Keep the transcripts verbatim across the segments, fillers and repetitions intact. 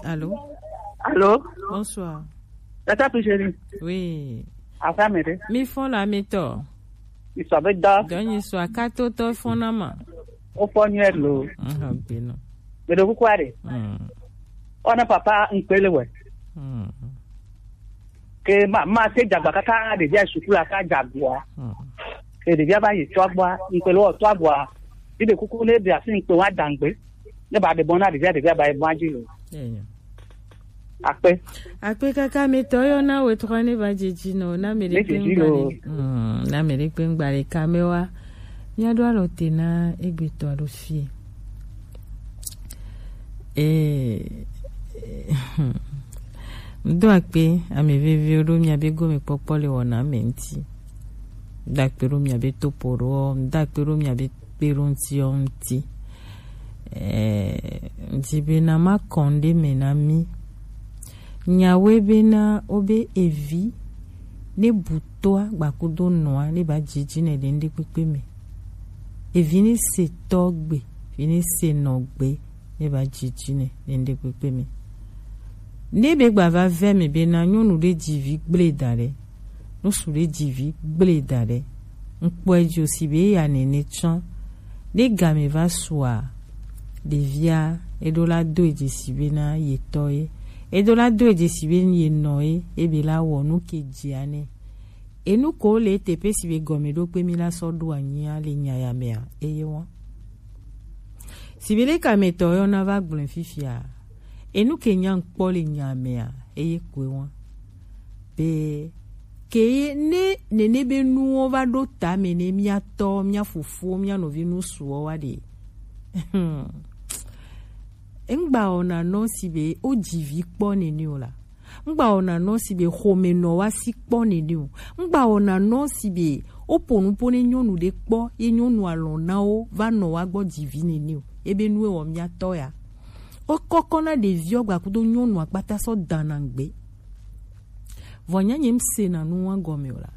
Allô? Allô? Bonsoir. Tata Pichérie. Oui. Afin, mais. Mi fond la méthode. Il savait dans. Donc, il soit quatre autres fond la main. Au fond, il est l'eau. Ah, bien, non. Mais de vous quoi, allez? Hmm. On a papa, un peu le ouais. Hmm. Ke ma, ma se dagba kaka ɖevia suku la ka dagboa. Hmm. Ke ɖevia va yi tɔa gbɔa, ŋkpe lo tɔa gbɔa. Yi ɖe kuku ne ɖevia si ŋkpe wa dangbe. Ne ba ɖe bɔ na ɖevia, ɖevia ba yi bɔ adzi lo. Enyo. Akpe. Akpe kaka mi tɔ yɔ na we tɔ ne va dzedzi no, na mi ɖe kpe ŋgba ɖe. Hmm, na mi ɖe kpe ŋgba ɖe kamewa. Mia ɖo alɔ te na egbe tɔ ɖo fie. Eh, ŋdo akpe ame veviwo ɖo miabe gomekpɔkpɔ le wɔna me ŋti. Ŋdo akpe ɖo miabe topo ɖo, ŋdo akpe ɖo miabe kpeɖoŋtiwo ŋti. Eh, ŋdi bena ma kɔn ɖe me na mi. Nyawe bena obe evi ne bu toa gbakudo nɔa ne ba dzidzi ne ɖe ŋɖe kpekpe me. Evi ne se tɔ gbe, vi ne se nɔ gbe, ne ba dzidzi ne ɖe ŋɖe kpekpe me. Ne be gba va vɛ me bena nyɔnu ɖe dzi vi gble da ɖe, nusu ɖe dzi vi gble da ɖe. Ŋkpɔe dzo si be ya nene tsã. Ne game va sua, ɖevia eɖo la do edzi si bena ye tɔ ye. Eɖo la do edzi si be ye nɔ ye, ebe la wɔ nu ke dzia ne. Enu ko le teƒe si be gɔme ɖo kpe mi la sɔ ɖo anyia le nya ya mea, eye wa. Si be le kametɔ yɔ na va gblɔe fifia. Enu ke nya ŋkpɔ le nya mea, eye koe wa. Be ke ye ne nene be nuwo va ɖo ta me ne mia tɔ, mia fofo, mia nɔvi nu suɔ wa ɖe. Ŋgba wɔna nɔ si be o dzi vi kpɔ nene o la. Ŋgba wɔna nɔ si be xome nɔ wa si kpɔ nene o. Ŋgba wɔna nɔ si be o po nu po ne nyɔnu ɖe kpɔ ye nyɔnu alɔ na wo va nɔ wa gbɔ dzi vi nene o. Ebe nu ewɔ mia tɔ ya. O kɔkɔ na ɖeviɔ gbakudo nyɔnu akpata sɔ dana ŋgbe. Vɔ nya nye ŋse na nu wa gɔme o la.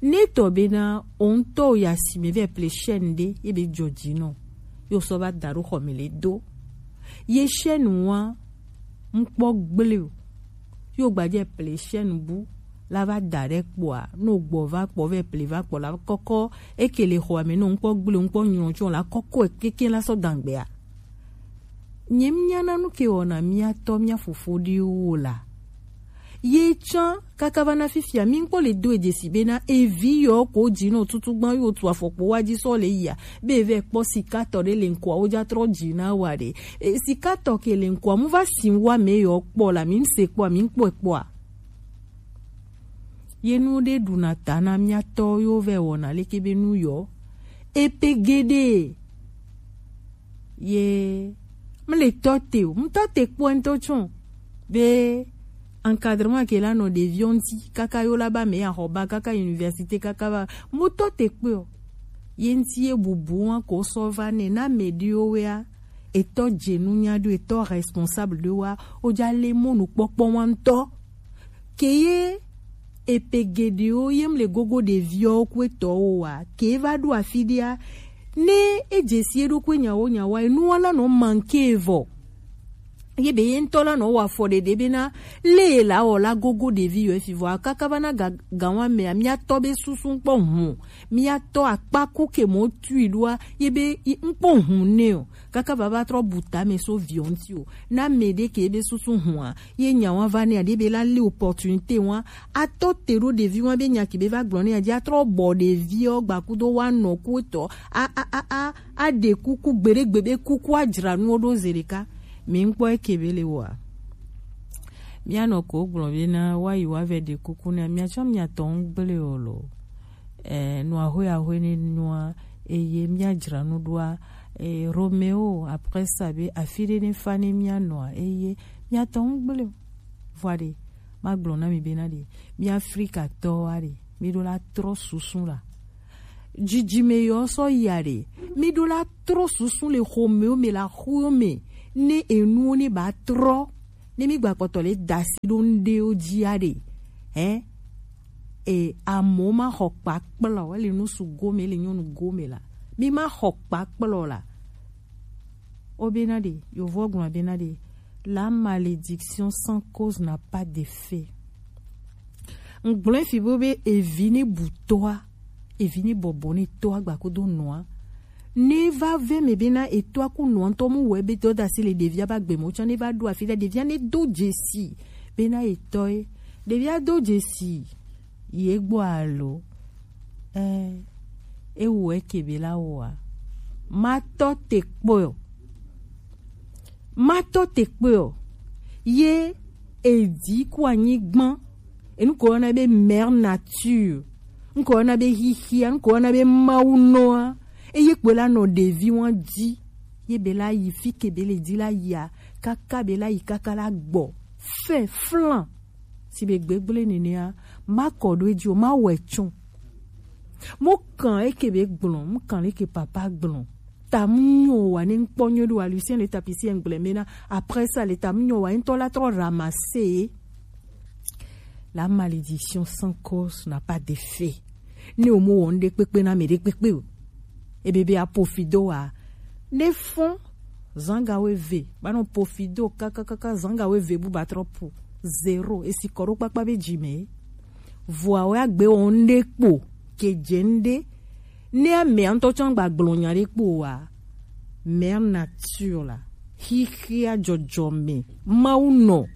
Ne tɔ bena o ŋtɔ o ya si me vɛ ple chaîne ɖe ye be jɔ dzi nɔ. Yo sɔ va da ɖo xɔ me le do. Ye chaîne wa ŋkpɔ gble o. Yo gbadze ple chaîne bu la va da ɖe kpɔa, no gbɔ va kpɔ vɛ ple va kpɔ la kɔkɔ eke le xɔa me no ŋkpɔ gble o, ŋkpɔ nyrɔ tsɔ la kɔkɔ keke la sɔ dangbea. Nye mia na nu ke wɔna mia tɔ mia fofo ɖewo la. Ye tsã kaka va na fifia mi ŋkpɔ le do edze si bena evi yɔ ko dzi nɔ tutu gbã yo tu afɔkpo wa dzi sɔ le yia be vɛ kpɔ sikatɔ ɖe le ŋkɔa wo dza trɔ dzi na wa ɖe. E, sikatɔ ke le ŋkɔa mu va si wa me yɔ kpɔ la mi ŋse kpɔa mi ŋkpɔe kpɔa. Ye nu ɖe ɖuna ta na mia tɔ yo vɛ wɔna leke be nu yɔ. Epe geɖe. Ye mle tɔ te o, mtɔ te kpɔ ŋtɔ tsɔ be encadrement ke la nɔ ɖeviwo ŋti kaka yo la ba me ya xɔ ba kaka université kaka ba mutɔ te kpe o. Ye ŋti ye bubu wa ko sɔ va ne na me ɖiwo wea etɔ dze nu nya ɖo etɔ responsable ɖo wa o dza le mɔnu kpɔkpɔ wa ŋtɔ. Ke ye epe geɖewo ye mle gogo ɖeviwo ku etɔwo wa ke va ɖo afi ɖea ne edze si eɖokui nyawo nyawa enuwa la nɔ manke vɔ. Ye be ye ŋtɔ la nɔ wɔ afɔ ɖeɖe bena le ye la wɔ la gogo ɖevi yɔ efi vɔ akaka va na ga gawa mea mia tɔ be susu ŋkpɔ hun mia tɔ akpa ku ke mo tui ɖoa ye be ŋkpɔ hun ne o. Kaka va va trɔ bu tame so viɔ ŋti o. Na me ɖe ke be susu hua ye nya wa va ne aɖe be la le opportunité wa atɔ te ɖo ɖevi wa be nya ke be va gblɔ ne adzi atrɔ bɔ ɖeviɔ gbakudo wa nɔ ku etɔ a a a a a ɖe kuku gbeɖegbe be kuku adzra nuwo ɖo ze ɖeka. Mi ŋkpɔ eke be le wa. Mia nɔ ko gblɔ be na wa yi wa vɛ ɖe kuku na mia tsɔ mia tɔ ŋgble o lo. Eh, nua hoe ahue ne nua eye mia dzra nu ɖoa eh, Romeo après ça be afi ɖe ne fa ne mia nɔa eye mia tɔ ŋgble o. Vɔ ɖe ma gblɔ na mi be na ɖe mi Afrika tɔ wa ɖe mi ɖo la trɔ susu la. Dzidzi me yɔ sɔ ya ɖe mi ɖo la trɔ susu le xomeo me la xuo me ne enuwo ne ba trɔ ne mi gba kpɔtɔ le dasi ɖo ŋɖewo dzi ya ɖe. Hein? E amewo ma xɔ kpakplɔ ele nusu gome ele nyɔnu gome la mi ma xɔ kpakplɔ la. Wo bena ɖe yovo gblɔ bena ɖe La malédiction sans cause n'a pas d'effet. Ŋgblɔɛ fi bo be evi ne bu tɔa, evi ne bɔbɔ ne tɔa gba kodo nɔa. Ne va vɛ me bena etɔa ku nɔa ŋutɔ mu wɛ be dɔdasi le ɖevia ba gbe mo tsã ne va ɖo afi ɖe ɖevia ne do dzesi bena etɔe. Ɖevia do dzesi ye gbɔ alo? Ɛ, ewo eke be la wɔa. Ma tɔ te kpɔe o. Ma tɔ te kpɔe o. Ye edi ku anyigban. Enu ko yɔna be mère nature. Ŋkɔ yɔna be xixia, ŋkɔ yɔna be Mawu nɔa. Eye kpoe la nɔ ɖevi wan ji. Ye be la yi fi ke be le di la yia. Kaka be la yi kaka la gbɔ. Fɛ flan. Si be gbegble nenea, ma kɔ ɖo edzi o, ma wɛ tsɔ. Mo kan eke be gblɔ, mo kan eke papa gblɔ. Ta mu nyo wa ne ŋkpɔ nyo ɖo wa Lucien le tapisi ŋgble me na. Après ça, le ta mu nyo wa ŋtɔ la trɔ ramasser. La malédiction sans cause n'a pas d'effet. Ne o mo wɔ ŋɖe kpekpe na me ɖe kpekpe o. Ebe be apofido wa. Ne fɔn zanga we ve. Ba nɔ pofido kaka kaka zanga we ve bu ba trɔ po. Zéro. Esi kɔ ɖo kpakpa be dzi me. Vɔa wɛ agbe wɔ ŋɖe kpo ke dze ŋɖe. Ne amea ŋutɔ tsɔ gba gblɔ nya ɖe kpo wa, mère nature la, xixia dzɔdzɔme, Mawu nɔ,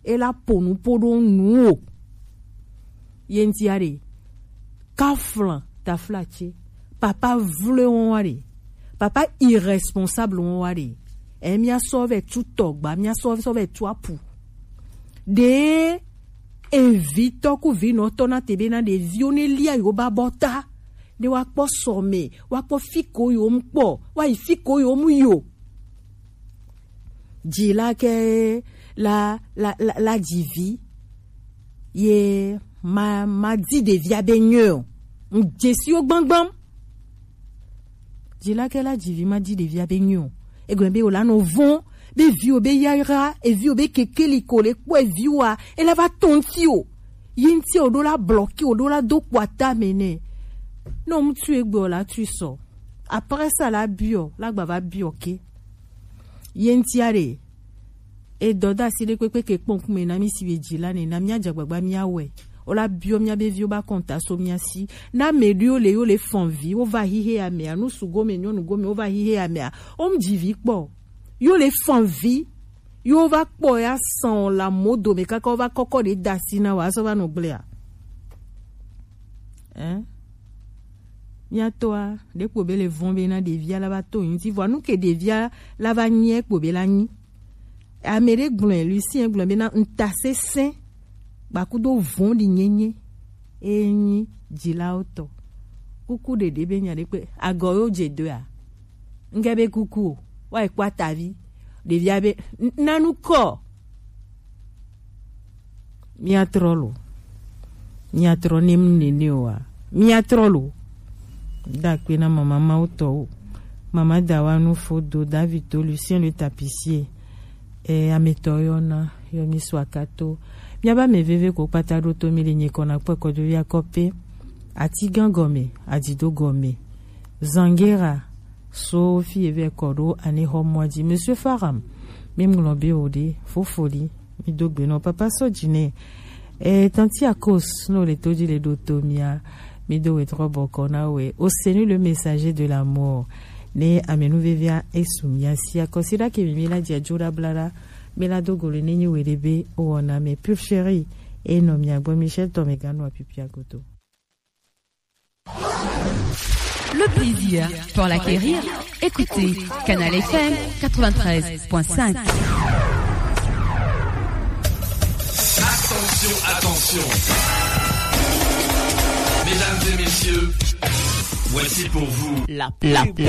ela po nu po ɖo nu o. Ye ŋtia ɖe, kaflan taflatse, papa vle wɔn wa ɖe, papa irresponsable wɔn wa ɖe, ɛ mia sɔ vɛ tu tɔgba, mia sɔ sɔ vɛ tu apu. Ɖe evitɔ ku vinɔtɔ na te be na ɖeviwo ne lia yewo ba bɔ ta, ne woakpɔ sɔme, woakpɔ fi ko yewo mu kpɔ, woayi fi ko yewo mu yo. Dzila ke la la la, la dzi vi ye ma ma di ɖevia be nyuie o. Ŋdze siwo gbãgbãm. Dzila ke la dzi vi ma di ɖevia be nyuie o. Egɔme be wòla nɔ vɔn be viwo be yayra, eviwo be kekeli ko le kpɔ eviwoa, ela va tɔ ŋti o. Yi ŋti o ɖo la blɔki o ɖo la do kpɔ ata me nɛ. Ne ŋutsu egbe o la tui sɔ. Après ça la biɔ, la gba va biɔ ke. Ye ŋtia ɖe, edɔ da asi ɖe kpekpe ke kpɔn kume na mi si be dzi la ne, na mia dze agbagba mia wɛ. O la biɔ mia be viwo ba kɔnta so mia si. Na me ɖo le yo le fɔn vi, wo va hihe amea, nu su gome, nyɔnu gome, wo va hihe amea. O mu dzi vi kpɔ. Yo le fɔn vi, yo va kpɔ ya sɔn la mo do me kaka wo va kɔkɔ ɖe da asi na wa, so va nɔ gblea. Hein? Mia tɔa, ɖe kpo be le vɔn be na ɖevia la va to ŋti, vɔ nu ke ɖevia la va nyi kpo be la nyi. Ame ɖe gblɔe, Lucien gblɔe be na ŋutasesẽ kpakudo vɔ̃ɖinyenye e nyi dzilawo tɔ. Kuku ɖeɖe be nya ɖe kpe, agɔ yo dze doa. Ŋge be kuku o, wa ekpɔ atavi. Ɖevia be, "N-, nanu kɔ." Mia trɔ lo. Mia trɔ ne mu nene o wa. Mia trɔ lo. Da kpe na mama Mawu tɔ o. Mama Dawa nu fo do David to Lucien le tapissier. E, ametɔ yɔ na, yɔ mi su akato. Mia ba me veve ko kpata ɖo to mi le nye kɔ na kpɔ kɔdo ya kɔpe. Ati gan gɔme, adido gɔme. Zangera, so fi eve kɔ ɖo ane xɔ mɔ dzi. Monsieur Faram, mi ŋlɔ be o ɖe, fofoli, mi do gbe nɔ papa sɔ dzi nɛ. E, tanti Akos, no le to dzi le ɖo to mia, mi do we trɔ bɔkɔ na we. O Seigneur le messager de la mort. Ne amenu vevia esu mia si akɔsi ɖa ke mi mi la dzi adzo ɖa bla ɖa. Mi la do go le ne nyi we ɖe be o wɔna me pure chérie. E nɔ mia gbɔ Michel tɔ me ganu apipia goto. Le plaisir pour l'acquérir, écoutez Canal F M quatre-vingt-treize point cinq. Attention, attention. Mesdames et messieurs, voici pour vous la pub.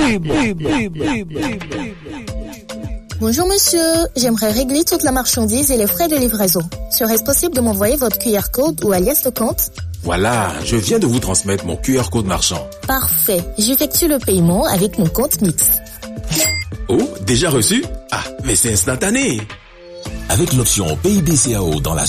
Bonjour monsieur, j'aimerais régler toute la marchandise et les frais de livraison. Serait-ce possible de m'envoyer votre Q R code ou alias de compte ? Voilà, je viens de vous transmettre mon Q R code marchand. Parfait, j'effectue le paiement avec mon compte Mix. Oh, déjà reçu ? Ah, mais c'est instantané. Avec l'option P I B C A O dans la